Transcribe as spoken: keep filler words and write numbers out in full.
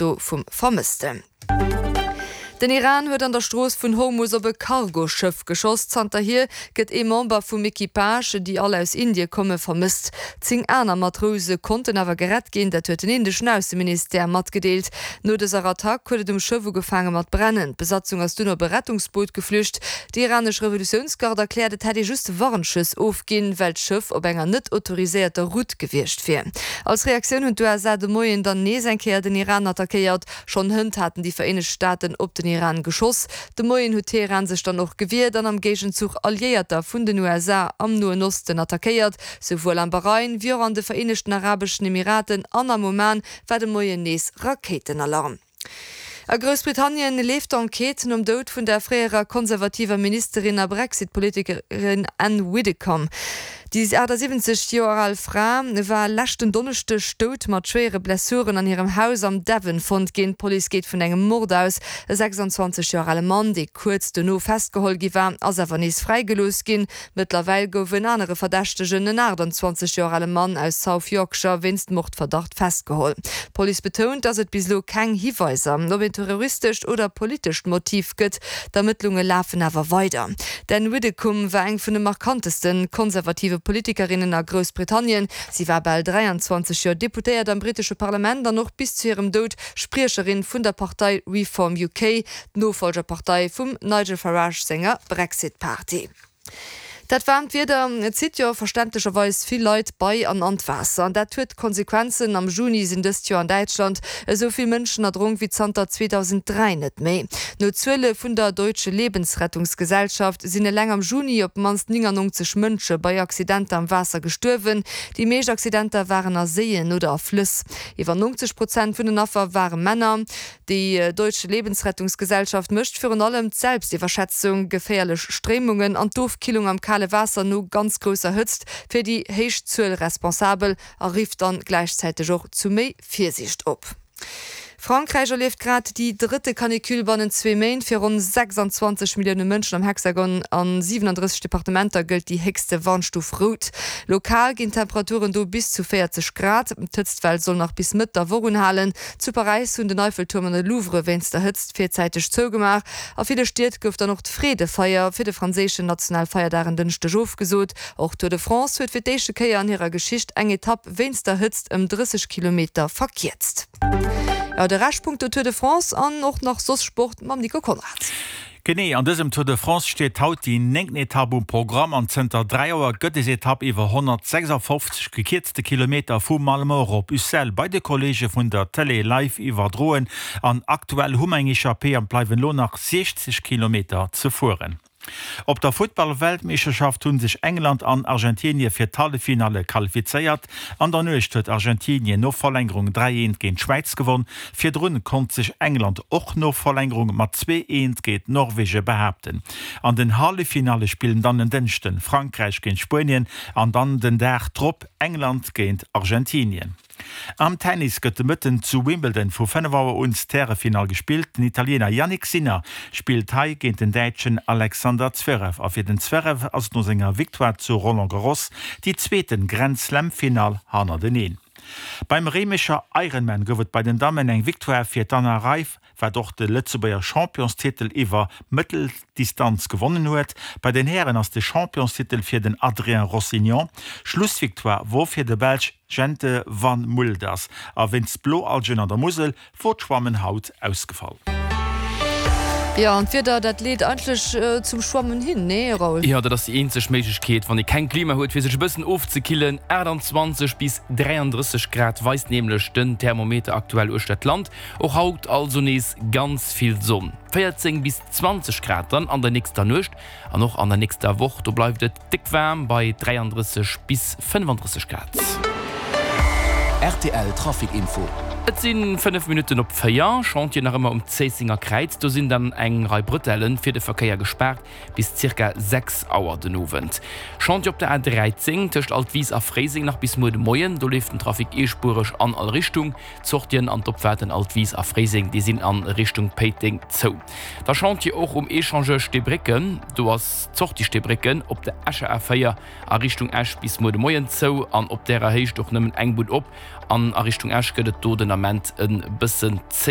Foto vum Vermëssten. Den Iran huet an der Strooss vun Hormus op e Cargoschëff geschoss. Zanterhier gëtt ee Member vum Equipage, déi all aus Indie komme, vermësst. Zéng aner Matrouse konnten awer gerett ginn, dat huet den indeschen Ausseministère matgedeelt. No dëser Attack huet et um Schëff ugefaange mat brennen. D'Besatzung ass dunn op e Rettungsboot geflücht. Déi iranesch Revolutiounsgarde erkläert, et hätt ee just Warnschëss ofginn, well d'Schëff op enger net autoriséierter Route gewiescht wier. Als Reaktioun hunn d'USA de Moien dann nees eng Kéier den Iran attackéiert. Schonn hënt haten déi Vereenegt Staaten op den Iran geschoss. De Moien huet Teheran sech dann och gewiert an am Géigenzuch Alliéierter vun den USA am Noen Osten attackéiert. Souwuel am Bahrain wéi och an de Vereenegten Arabeschen Emiraten an am Oman war de Moien nees Rakéitenalarm. A Groussbritannien leeft d'Enquête nom Doud vun der fréierer konservativer Ministerin a Brexit-Politikerin Ann Widdecombe. Déi achtasiwwenzeg Joer al Fra war leschten Donneschdeg dout mat schwéiere Blessuren an hirem Haus am Devon fonnt ginn. D'Police geet vun engem Mord aus. E sechsanzwanzeg Joer ale Mann, dee kuerz dono festgeholl gi war, ass awer nees fräigelooss ginn. Mëttlerweil gouf en anere Verdächtegen, en aachtanzwanzeg Joer ale Mann aus South Yorkshire, wéinst Mordverdacht festgeholl. D'Police betount, datt et bis elo keng Hiweiser op een terroristescht oder politescht Motiv gëtt. D'Ermëttlunge lafen awer weider. D'Ann Widdecombe war eng vun de markanteste konservative Politikerinnen a Groussbritannien. Si war bal dräianzwanzeg Joer Deputéiert am brittesche Parlament an och bis zu hirem Doud Spriecherin vun der Partei Reform U K, d'Nofollgerpartei vum Nigel Farage senger Brexit Party. Dat waarmt Wieder zitt jo verständlecherweis vill Leit bei an an d'Waasser. An dat huet Konsequenzen, Am Juni sinn dëst Joer an Däitschland esou vill Mënschen erdronk wéi zanter zweedausendräi net méi. No Zuele vun der Deutsche Lebensrettungsgesellschaft sinn eleng am Juni op d'mannst néngannonzeg Mënsche bei Accidenter am Waasser gestuerwen. Déi meescht Accidenter waren a Séien oder a Flëss. Iwwer nonzeg Prozent vun den Affer ware Männer. Déi Deutsche Lebensrettungsgesellschaft mécht virun allem d'Selbstiwwerschätzung, geféierlech Stréimungen an d'Ofkillung am kale Waasser no ganz grousser Hëtzt fir déi héich Zuel responsabel a rifft dann gläichzäiteg och zu méi Virsiicht op. Frankräich erlieft grad déi drëtte Canicule bannent zwee Méint. Fir ronn sechsanzwanzeg Millioune Mënschen am Hexagon a siwenandrësseg Departementer gëllt déi héchste Warnstuf rout. Lokal ginn d'Temperaturen do bis zu véierzeg Grad. D'Hëtztwell soll nach bis Mëtt der Woch unhalen. Zu Paräis hunn den Eiffeltuerm an de Louvre wéinst der Hëtzt virzäiteg zougemaach. A ville Stied gouf dann och d'Freedefeier fir de franséischen Nationalfeierdag en Dënschdeg ofgesot. Och d'Tour de France huet fir d'éischte Kéier an hirer Geschicht eng Etapp wéinst der Hëtzt ëm drësseg Kilometer verkierzt. Jo, de Rescht punkto Tour de France an och nach soss Sport mam Nico Konrad. Genee, an dësem Tour de France steet haut déi néngten Etapp um Programm an zënter dräi Joer gëtt des Etapp iwwer honnertsechsafofzeg gekierzte Kilometer vu Malemort op Ussel bei de Kolleege vun der Tëlee live iwwerdroen an aktuell hu mer eng Echappée an bleiwen elo nach siechzeg Kilometer ze fueren. Op der Futtball-Weltmeeschterschaft hu sech England an Argentinie fir d'Halleffinalle qualifizéiert. An der Nuecht huet Argentinien no Verlängerung dräi eent géint d'Schwäiz gewonn. Virdrun konnt sech England och no Verlängerung mat zwee eent géint Norwege behaapten. An den Halleffinalle spillen dann en Dënschden Frankräich géint Spuenien an dann den Dag drop England géint Argentinien. Am Tennis gëtt de Mëtten zu Wimbledon vu fënnef Auer un d'Härefinall gespillt. Den Italiener Jannik Sinner spillt hei géint den Däitschen Alexander Zverev. A fir den Zverev ass et no senger Victoire zu Roland Garros déi zweete Grand-Slam-Finall hannerteneen. Beim Réimecher Ironman gouf et bei den Dammen eng Victoire fir d'Anna Reif, wat och de Lëtzebuerger Championstitel iwwer Mëtteldistanz gewonnen huet. Bei den Hären ass de Championstitel fir den Adrien Rossignon. Schlussvictoire wor fir de Belsch Jente Van Mulders. A wéinst Bloalgen an der Musel wor d'Schwammen haut ausgefall. Jo, an d'Wieder, dat leet eigentlech zum Schwammen hin, nee Raoul? Jo, dat ass déi eenzeg Méiglechkeet, wann ee keng Klima huet, fir sech e bëssen ofzekillen. achtanzwanzeg bis dräiandrësseg Grad weist nämlech den Thermometer aktuell uechter d'Land. Och haut also nees ganz vill Sonn. véierzéng bis zwanzeg Grad dann an der nächster Nuecht an och an der nächster Woch, do bleift et déck waarm bei dräiandrësseg bis fënnefandrësseg Grad. Rtl Trafic Info. Et si fënnef Minutten op véier. Chantier nach ëmmer um Zéissenger Kräiz. Do sinn dann eng Rei Brëtellen fir de Verkéier gespaart bis zirka sechs Auer den Owend. Chantier op der A dräizéng tëscht Altwis a Fréiseng nach bis muer de Moien. Do leeft den Trafic eespuereg an all Richtung. D'Sortien an d'Opfaarten Altwis a Fréiseng, déi sinn a Richtung Péiteng zou. Da Chantier och um Echangeur Steebrécken. Do ass d'Sortie Steebrécken op der Escher A véier a Richtung Esch bis muer de Moien zou an op därer Héicht och nëmmen eng Bunn op. An a Richtung Esch gëtt et do den Ament e bëssen zéi.